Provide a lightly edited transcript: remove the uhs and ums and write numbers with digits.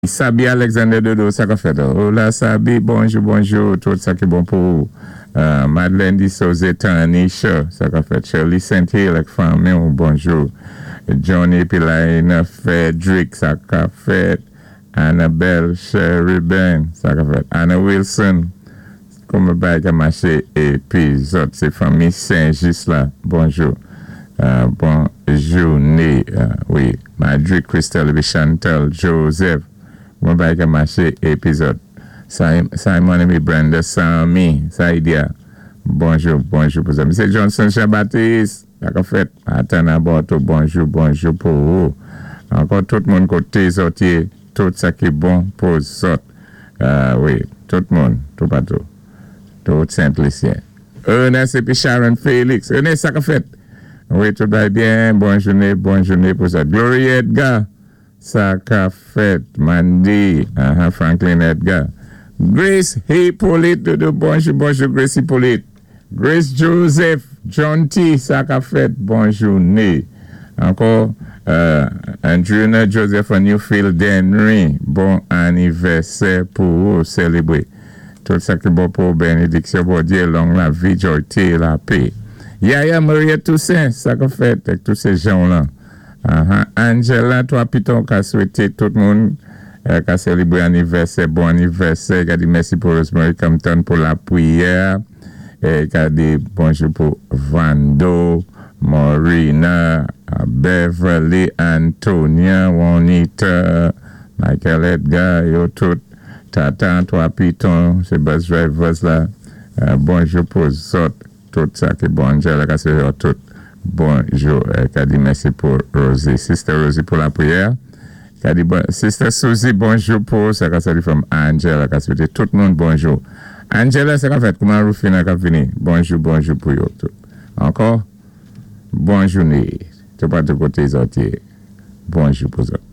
Sabi Alexander Dodo, sa ka fèt? Hola Sabi, bonjou, bonjou, tout sa ki bon pou ou. Madeleine Di Soze Tanisha, sa ka fèt? Shirley St. Hill ak fanmi, bonjou. Johnny Pilaina Frederick, sa ka fèt? Annabelle Sheridan, sa ka fèt? Anna Wilson, kouman bagay ka maché? Épi zòt, sé fanmi Saint-Just la, bonjou. Bon jouné, wi. Madrid, Christelle épi Chantal Joseph, kouman bagay ka maché? Épi zòt. Simon épi Brenda Sami, Saidia, bonjou, bonjou pou sa. Msye Johnson Jean-Baptiste, sa ka fèt? Atan Aborto, bonjou, bonjou pou ou. Ankò tout moun koté zòt yé, tout sa ki bon pou zòt. Wi, tout moun, toupatou. Tout Sent-Lisyen. Ernest épi Sharon Félix. Ernest, sa ka fèt? Wi, tout va byen. Bon jouné, bon jouné pou sa. Gloria Edgar, sa ka fèt? Mandy, Franklin Edgar. Grace Hippolyte, Dodo, bonjou, bonjou, Grace Hippolyte. Grace Joseph, John T, sa ka fèt? Bon jouné. Ankò, Andrina Joseph Newfield Denry, bon anivèsè pou ou, sélébwé. Tout sa ki bon pou bénédiksyon Bondyé, long lavi, jòyté, lapè. Yaya Maria Toussaint, sa ka fèt ak tout sé jan lan. Angela, twa piton ka swété tout moun ka sélébwé anivèsè, bon anivèsè, ka di mèsi pou Rosemary Compton pou lapriyè, é ka di bonjou pou Vando, Morina, Beverly, Antonia, Juanita, Michael Edgar, yo tout, Tata, twa piton, sé bus drivers la, bonjou pou zòt, tout sa ki bon. Angela ka swété tout bonjou. Ka di mèsi pou Rosie, Sister Rosie pou lapriyè. Ka di bon, Sister Susie, bonjou pou sa ka sali from Angela, ka swété tout moun bonjou. Angela, sa ka fèt? Kouman Rufina ka vini? Bonjou, bonjou pou yo tout. Ankò, bon jouné. Toupatou koté zòt yé. Bonjou pou zòt.